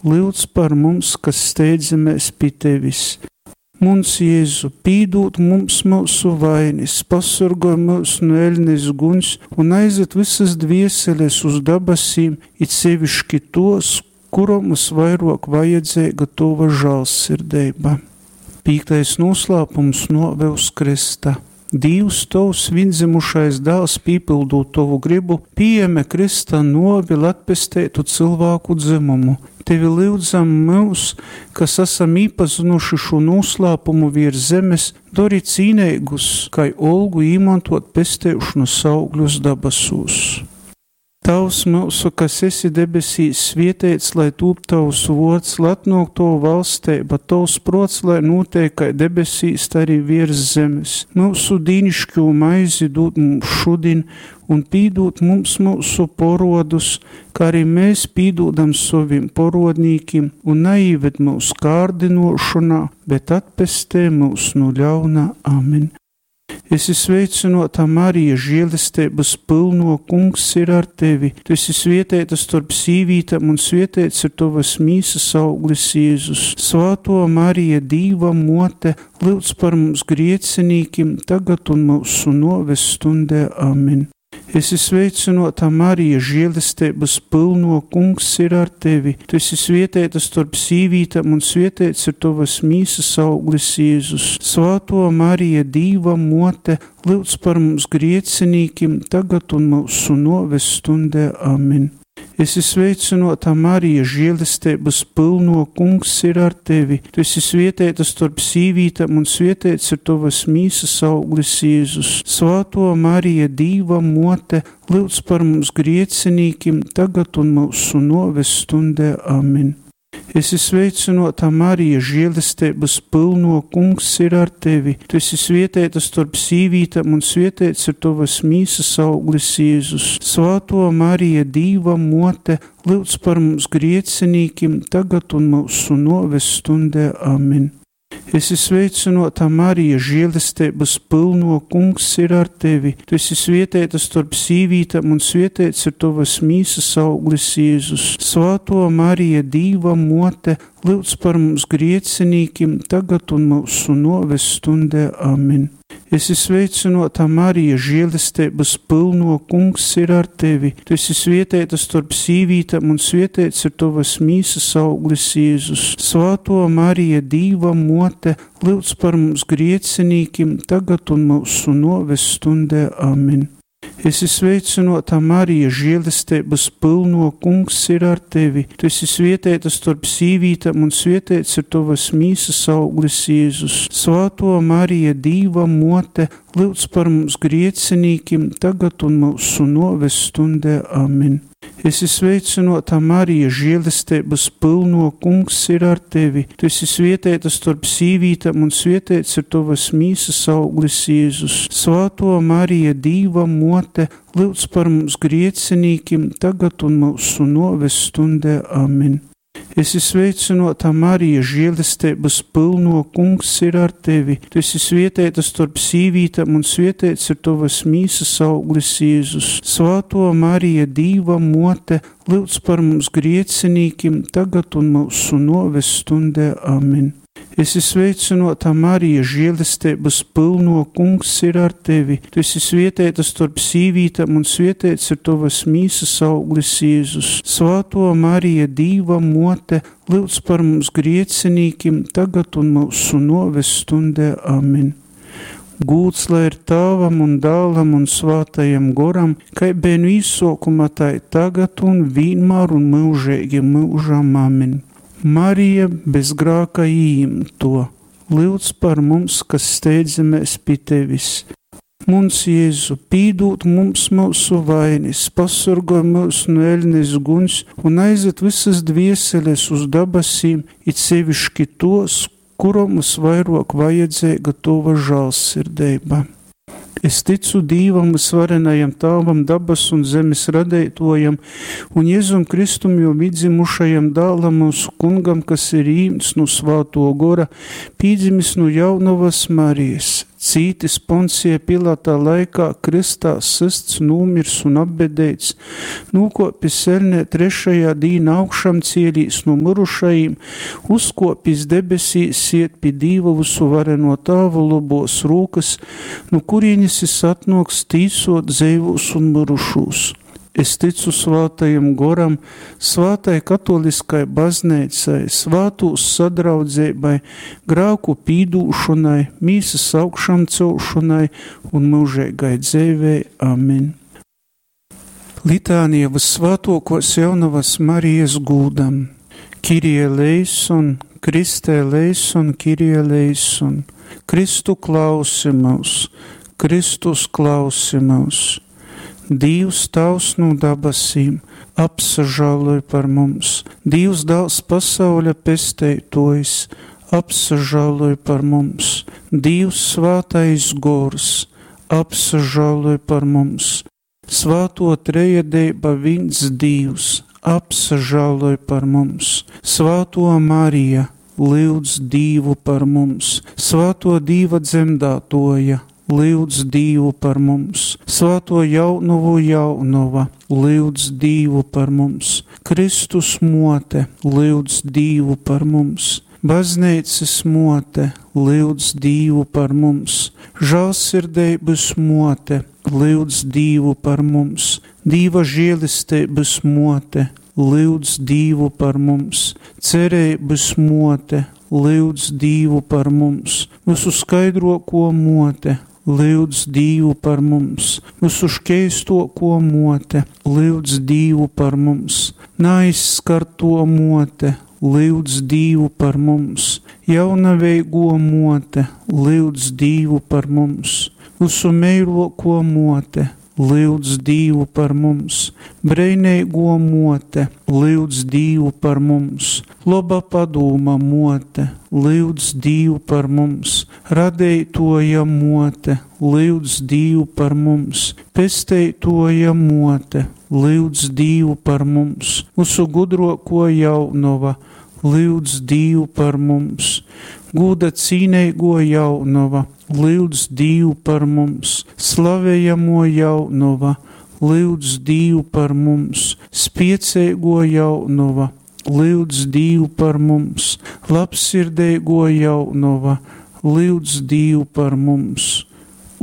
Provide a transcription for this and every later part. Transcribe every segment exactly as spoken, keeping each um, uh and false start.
lyudz par mums, kas steidzamies pi tevis. Muns Jēzu, pīdūd mums myusu vainis, pasorgoj myus nu eļnes guņs un aizved vysas dvieseles uz dabasīm, it seviški tos, kurom vysvairuok vajadzeiga tova žālsirdeiba. Pīktais nūslāpums nuove uz krysta. Dīvs, tovs vīndzimušais dāls, pīpyldūt tovu grybu, pījēme krysta nuovi, lai atpesteitu cylvāku dzymumu. Tevi lyudzam myus, kas asam īpazynuši šū nūslāpumu viers zemes, dori cīneigus, kai olgu īmontuot pesteišonys augļus dabasūs. Tāvs myusu, kas esi debesīs, svieteits lai tūp tovs vuords, lai atnuok tova valsteiba, tovs pruots lai nūteik kai debesīs, tai arī viers zemes. Myusu dīniškū maizi dūd mums šudin un pīdūd mums myusu porodus, kā arī mēs pīdūdam sovim porodnīkim, un naīved myus kārdinošonā, bet atpestē myus nu ļauna. Amen. Esi sveicynota, Marija, žēlesteibys pylno, Kungs ir ar tevi. Tu esi svieteita storp sīvītēm, un svieteits ir tovas mīsas auglis Jēzus. Svāto Marija, Dīva mote, lyudz par mums griecinīkim, tagad un myusu nuoves stundē. Amen. Esi sveicynota, Marija, žēlesteibys pylno, Kungs ir ar tevi. Tu esi svieteita storp sīvītēm, un svieteits ir tovas mīsas auglis Jēzus. Svāto Marija, Dīva mote, lyudz par mums griecinīkim, tagad un myusu nuoves stundē. Amen. Esi sveicynota, Marija, žēlesteibys pylno, Kungs ir ar tevi. Tu esi svieteita storp sīvītēm, un svieteits ir tovas mīsas auglis Jēzus. Svāto Marija, Dīva mote, lyudz par mums griecinīkim, tagad un myusu nuoves stundē. Amen. Esi sveicynota, Marija, žēlesteibys pylno, Kungs ir ar tevi. Tu esi svieteita storp sīvītēm, un svieteits ir tovas mīsas auglis Jēzus. Svāto Marija, Dīva mote, lyudz par mums griecinīkim, tagad un myusu nuoves stundē. Amen. Esi sveicynota, Marija, žēlesteibys pylno, Kungs ir ar tevi. Tu esi svieteita storp sīvītēm, un svieteits ir tovas mīsas auglis Jēzus. Svāto Marija, Dīva mote, lyudz par mums griecinīkim, tagad un myusu nuoves stundē. Amen. Esi sveicynota, Marija, žēlesteibys pylno, Kungs ir ar tevi. Tu esi svieteita storp sīvītēm, un svieteits ir tovas mīsas auglis Jēzus. Svāto Marija, Dīva mote, lyudz par mums griecinīkim, tagad un myusu nuoves stundē. Amen. Esi sveicynota, Marija, žēlesteibys pylno, Kungs ir ar tevi. Tu esi svieteita storp sīvītēm, un svieteits ir tovas mīsas auglis Jēzus. Svāto Marija, Dīva mote, lyudz par mums griecinīkim, tagad un myusu nuoves stundē. Amen. Esi sveicynota, Marija, žēlesteibys pylno, Kungs ir ar tevi. Tu esi svieteita storp sīvītēm, un svieteits ir tovas mīsas auglis Jēzus. Svāto Marija, Dīva mote, lyudz par mums griecinīkim, tagad un myusu nuoves stundē. Amen. Esi sveicynota, Marija, žēlesteibys pylno, Kungs ir ar tevi. Tu esi svieteita storp sīvītēm, un svieteits ir tovas mīsas auglis Jēzus. Svāto Marija, Dīva mote, lyudz par mums griecinīkim, tagad un myusu nuoves stundē. Amen. Esi sveicynota, Marija, žēlesteibys pylno, Kungs ir ar tevi. Tu esi svieteita storp sīvītēm, un svieteits ir tovas mīsas auglis Jēzus. Svāto Marija, Dīva mote, lyudz par mums griecinīkim, tagad un myusu nuoves stundē. Amen. Gūds lai ir Tāvam un Dālam un Svātajam Goram, kai beja nu īsokuma, tai tagad un vienmēr un mūžīgi mūžam. Amen. Marija bez grāka īimto, lyudz par mums, kas steidzamies pi tevis. Muns Jēzu, pīdūd mums myusu vainis, pasorgoj myus nu eļnes guņs un aizved visas dvieseles uz dabasīm, it seviški tos, kurom vysvairuok vajadzeiga tova žālsirdeiba. Es ticu Dīvam, vysvarenajam Tāvam, dabas un zemes radeitojam, un Jēzum Kristum, jo vidzimušajam dālam mūsu kungam, kas ir īmts no svāto gora, pīdzimis no jaunavas Marijas, cītis Poncija Pilata laikā, krystā systs, nūmirs un apbedeits, nūkōpis eļnē trešajā dīnā augšamcielīs nu myrušajim, uzkōpis debesīs, sied pi Dīva vysuvarenuo Tāva lobuos rūkys, nu kurīnis jis atnuoks tīsuot dzeivūs un myrušūs. Es tycu Svātajam Goram, svātai katoliskai bazneicai, svātūs sadraudzeibai, grāku pīdūšonai, mīsys augšamcelšonai un myužeigai dzeivei. Amen. Litānija Vyssvātuokuos Jaunovys Marijas gūdam. Kirie eleison, Kriste eleison, Kirie eleison. Kristu klausi myus, Kristus klausi myus. Dīvs Tāvs nu dabasīm, apsažāloj par mums. Dīvs Dāls pasauļa pesteituojs, apsažāloj par mums. Dīvs Svātais Gors, apsažāloj par mums. Svātuo Trejadeiba vīns Dīvs, apsažāloj par mums. Svātuo Marija, lyudz Dīvu par mums. Svātuo Dīva dzemdātuoja, lyudz Dīvu par mums. Svātuo Jaunovu Jaunova, lyudz Dīvu par mums. Kristus muote, lyudz Dīvu par mums. Bazneicys muote, lyudz Dīvu par mums. Žālsirdeibys muote, lyudz Dīvu par mums. Dīva žielesteibys muote, lyudz Dīvu par mums. Cereibys muote, lyudz Dīvu par mums. Vysu skaidruokuo muote, lyudz Dīvu par mums. Vysu škeistuokuo muote, lyudz Dīvu par mums. Naaizskartuo muote, lyudz Dīvu par mums. Jaunaveiguo muote, lyudz Dīvu par mums. Vysu meiluokuo muote, lyudz Dīvu par mums. Breineiguo muote, lyudz Dīvu par mums. Loba padūma muote, lyudz Dīvu par mums. Radeituoja muote, lyudz Dīvu par mums. Pesteituoja muote, lyudz Dīvu par mums. Vysu gudruokuo Jaunova, lyudz Dīvu par mums. Gūda cīneiguo Jaunova, lyudz Dīvu par mums. Slavejamuo Jaunova, lyudz Dīvu par mums. Spieceiguo Jaunova, lyudz Dīvu par mums. Labsirdeiguo Jaunova, lyudz Dīvu par mums.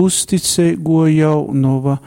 Uzticeiguo Jaunova,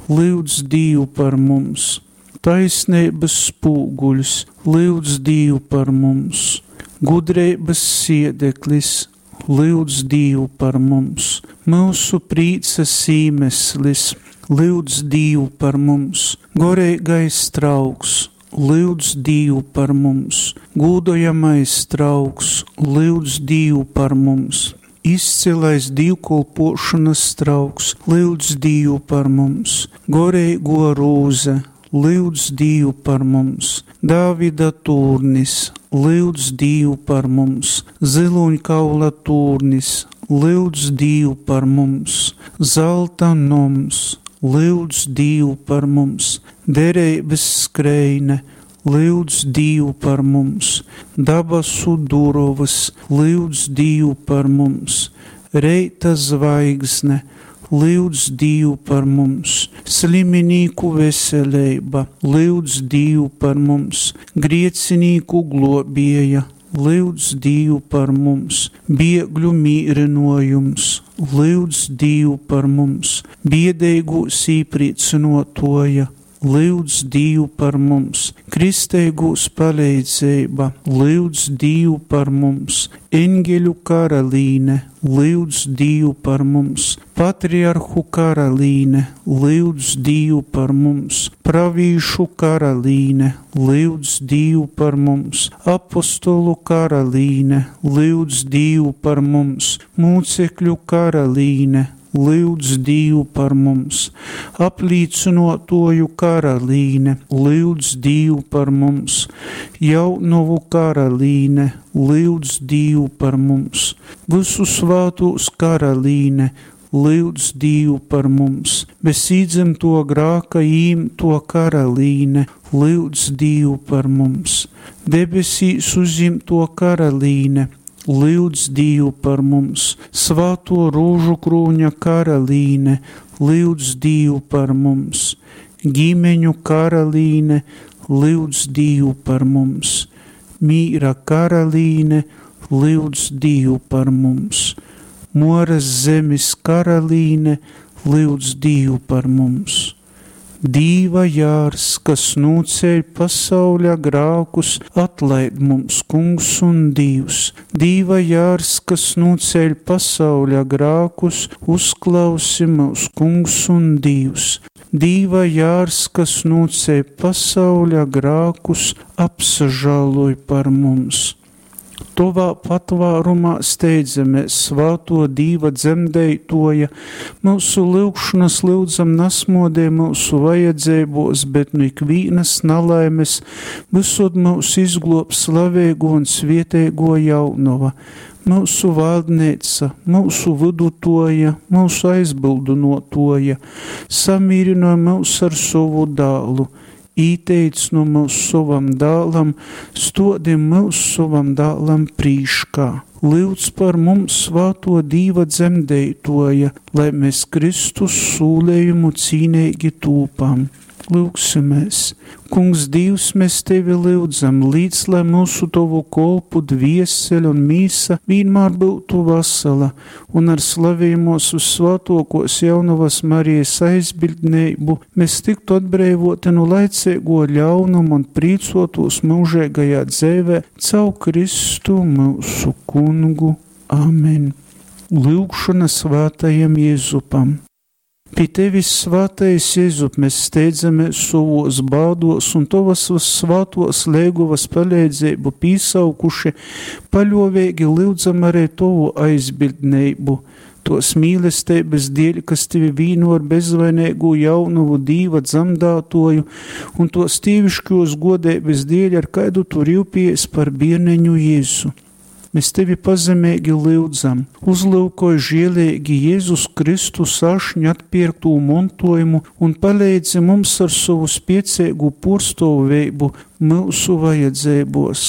lyudz Dīvu par mums. Taisneibys spūguļs, lyudz Dīvu par mums. Gudreibys siedeklis, lyudz Dīvu par mums. Myusu prīcys īmeslis, lyudz Dīvu par mums. Goreigais trauks, lyudz Dīvu par mums. Gūdojamais trauks, lyudz Dīvu par mums. Izcilais dīvkolpuošonys trauks, lyudz Dīvu par mums. Goreiguo rūze, lyudz Dīvu par mums. Dāvida tūrnis, lyudz Dīvu par mums. Zylūņkaula tūrnis, lyudz Dīvu par mums. Zalta noms, lyudz Dīvu par mums. Dereibys skreine, lyudz Dīvu par mums. Dabasu durovys, lyudz Dīvu par mums. Reita zvaigzne, lyudz Dīvu par mums. Sliminīku veseleiba, lyudz Dīvu par mums. Griecinīku gluobieja, lyudz Dīvu par mums. Biegļu mīrynuojums, lyudz Dīvu par mums. Biedeigūs īprīcynuotuoja, lyudz Dīvu par mums. Kristeigūs paleidzeiba, lyudz Dīvu par mums. Eņgeļu karalīne, lyudz Dīvu par mums. Patriarhu karalīne, lyudz Dīvu par mums. Pravīšu karalīne, lyudz Dīvu par mums. Apostolu karalīne, lyudz Dīvu par mums. Mūcekļu karalīne, lyudz Dīvu par mums. Aplīcynuotuoju karalīne, lyudz Dīvu par mums. Jaunovu karalīne, lyudz Dīvu par mums. Vysu svātūs karalīne, lyudz Dīvu par mums. Bez īdzymtuo grāka ījimtuo karalīne, lyudz Dīvu par mums. Debesīs uzjimtuo karalīne, lyudz Dīvu par mums. Svāto rūžu krūņa karalīne, lyudz Dīvu par mums. Ģimeņu karalīne, lyudz Dīvu par mums. Mīra karalīne, lyudz Dīvu par mums. Moras zemes karalīne, lyudz Dīvu par mums. Dīva jārs, kas nūceļ pasauļa grākus, atlaid mums, Kungs un Dīvs. Dīva jārs, kas nūceļ pasauļa grākus, uzklausi mūs, Kungs un Dīvs. Dīva jārs, kas nūceļ pasauļa grākus, apsažāloj par mums. Tovā patvārumā steidzamies, svāto Dīva dzemdeitoja, mūsu lyugšanas lyudzam nasmodē mūsu vajadzībos, bet nu ikvīnas nalaimes visod mūs izglob slavēgo un svietēgo jaunova, mūsu valdneica, mūsu vidutoja, mūsu aizbildunotoja, samīrinoja mūs ar sovu dālu, īteic no mūs sovam dālam, stodim mūs sovam dālam prīškā. Lyudz par mums svāto Dīva dzemdeitoja, lai mēs Kristus sūlējumu cīnīgi tūpam. Lūgsimies! Kungs Dīvs, mēs Tevi lyudzam, līdz lai mūsu Tovu kolpu dviesele un mīsa vienmēr būtu vasala, un ar slavījumos uz svētokos jaunavas Marijas aizbildnību mēs tiktu atbrīvoti no laicīgo ļaunumu un prīcotos mūžīgajā dzīvē caur Kristu mūsu kungu. Amen. Lūgšana svētajam Jēzupam. Pie tevis, svētais Jēzup, mēs steidzamies savos bādos un tovas svātos lēgovas palīdzību pīsaukuši, paļovēgi lyudzam arī tovu aizbildnību, tos mīlestības dēļ, kas tevi vīno ar bezvainīgu jaunuvu Dīva dzemdātoju, un tos tīvišķos godības dēļ, ar kaidu tu rūpies par bierneņu Jēzu. Mēs tevi pazemīgi lyudzam, uzlūkoj žielīgi Jēzus Kristus ašņu atpirktū montojumu un palīdzi mums ar savu spiecīgu purstovību mūsu vajadzībos.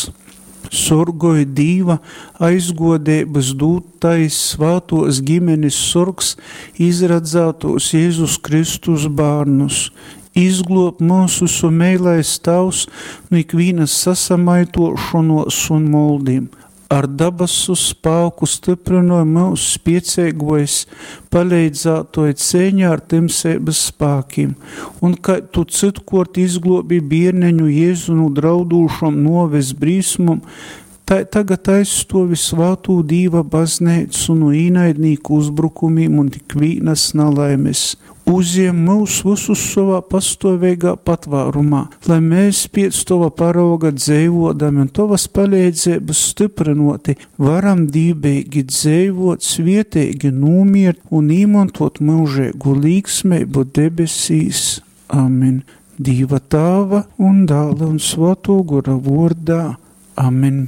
Sorgoj Dīva aizgodības dūtais svātos ģimenes sorgs izradzētos Jēzus Kristus bērnus. Izglob mūsu meilais tavs no ikvienas sasamaitošanos un moldim. Ar dabasu spāku stiprinoja mūsu spiecīgojs, palīdzētoja cīņā ar timsības spākiem, un kā tu citkort izglobi bierneņu Jēzu no draudūšam noves brīsmum, tā tagad aizstovi svātū Dīva baznīcu no īnaidnīku uzbrukumiem un ikvīnas nalaimes. Uzjem mūs visus savā pastāvīgā patvārumā, lai mēs pēc tova parauga dzīvodami un tovas palīdzības stiprinoti varam dībīgi dzīvot, svietīgi nomirt un īmantot mūžīgu līksmību debesīs. Amen. Dīva Tāva un Dāla un Svēto Gora vordā. Amen.